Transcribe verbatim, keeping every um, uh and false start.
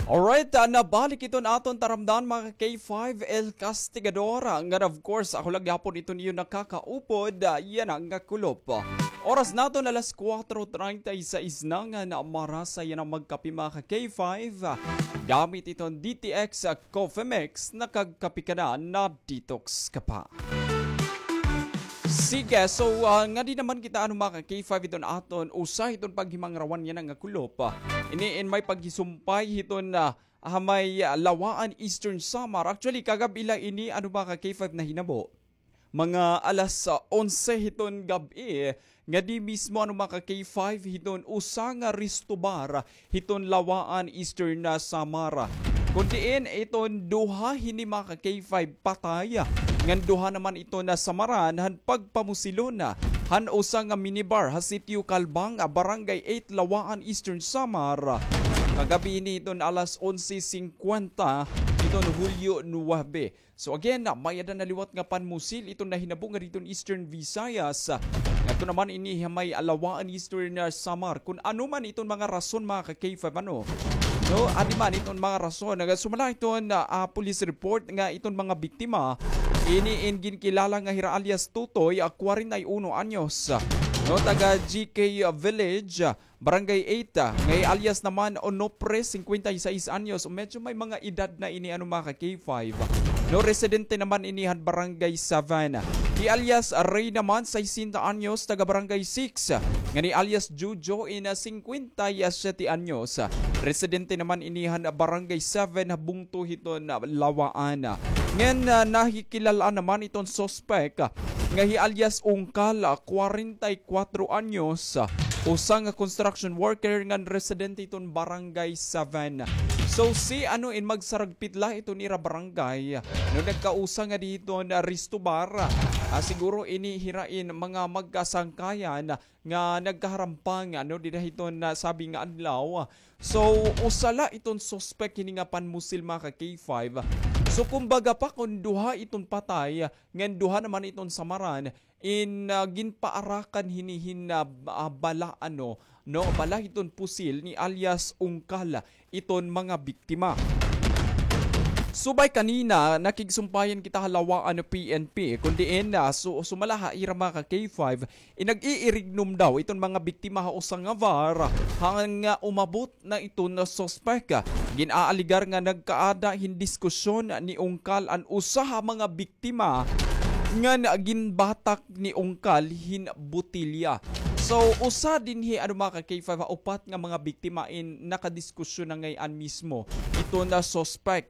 Alright, ah, nabalik iton aton taramdan, mga K five El Castigador, ah, nga of course, ako la gihapon iton iyo nakakaupod, ah, yana nga kulop. Oras naton alas kuwatro treinta y seis na, ngan marasa yana magkape, mga K five, ah, gamit iton D T X, ah, Coffee Mix, nakagkape ka na, na-detox ka pa. Sige, so, ah, ngadi naman kita, ano, mga K five, iton aton usa hiton paghimangrawan yana nga kulop. Ini in may paghisumpay hiton, ah, ha may, ah, Lawaan, Eastern Samar. Actually, kagab-i la ini, ano, mga K five, nahinabo. Mga alas, ah, onse hiton gab-i, ngadi mismo, ano, mga K five, hiton usa nga resto bar hiton Lawaan, Eastern, ah, Samar. Kon diin iton duha hini, mga K five, patay, ngan duha naman iton nasamaran han pagpamusilon han usa nga minibar ha Sitio Calbang, ah, Barangay eight, Lawaan, Eastern Samar, kagab-i hini hiton alas onse singkwenta hiton Hulyo nuwebe. So again, ah, may-ada na liwat nga panmusil iton nahinabo ngadi hiton Eastern Visayas. Ngadto naman ini ha may Lawaan, Eastern, ah, Samar. Kon ano man iton mga rason, mga ka-K five, ano? No, adi man iton mga rason. Nagasumala iton, ah, ah, police report nga iton mga biktima, ini in ginkilala nga hira alias Tutoy, ah, kwarenta y uno anyos. No, taga G K Village, ah, Barangay eight, ah, nga hi alias naman Onofre, singkwenta y sais anyos. Medyo may mga edad na ini, ano, mga ka-K five. No, residente naman ini han Barangay seven. Hi alias Ray naman, sesenta anyos, taga Barangay six. Ngan hi alias Jojo in, ah, singkwenta y siyete anyos. Residente naman ini han Barangay seven, ha bungto hiton, ah, Lawaan. Ngan, ah, nahikilal-an naman iton suspek, ah, nga hi alias Ungkal, ah, kwarenta y kwatro anyos, ah, usa nga construction worker ngan residente hiton Barangay seven. So, si ano in magsaragpit la iton ira barangay, no, nagkausa ngadi hiton, ah, resto bar, ah, siguro ini hira in mga magkasangkayan, ah, nga nagkaharampang, ano, dida hiton, ah, sabi nga adlaw. So, usa la iton suspek hini nga panmusil, mga ka-K five. So, kumbaga pa, kon duha iton patay, ngan duha naman iton samaran, in, ah, ginpaarakan hini hin, ah, ah, bala, ano, no, bala hiton pusil ni alias Ungkal iton mga biktima. Subay kanina, nakigsumpayan kita ha Lawaan P N P, kon diin, ah, su-, sumala ha ira, mga ka-K five, in nag-iirignom daw iton mga biktima ha usa nga bar, hanggang, ah, umabot na iton suspek. Gin-aaligar nga nagkaada hin diskusyon ni Ungkal, an usa ha mga biktima, ngan ginbatak ni Ungkal hin botilya. So, usa dinhi, ano, mga ka-K five, ha upat nga mga biktima in nakadiskusyon na ngay-an mismo iton suspek.